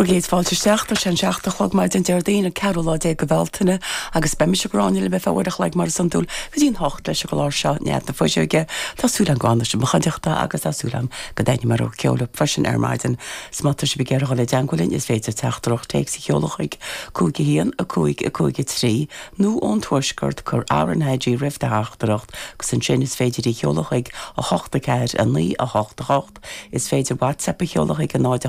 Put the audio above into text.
Bhur gcéad fáilte isteach, tá sé an 7 a chlog maidin Déardaoin an ceathrú lá déag de Bhealtaine agus beidh mise Gráinne libh ar feadh uair a chloig mar is iondúil go dtí an hocht leis an gclár seo Nead na Fuiseoige. Tá súil agam go bhfanfaidh sibh i mo chuideachta agus tá súil agam go dtaitneoidh mo rogha ceoil libh freisin ar maidin. 'S má tá sibh ag iarraidh dul i dteangmháil linn is féidir teachtaireacht téacs a sheoladh chuig 5 1 5 5 3 nó ón Tuaisceart cuir RnaG roimh do theachtaireacht agus ansin is féidir í a sheoladh chuig 8 4 9 8 8. Is féidir WhatsApp a sheoladh chuig 0.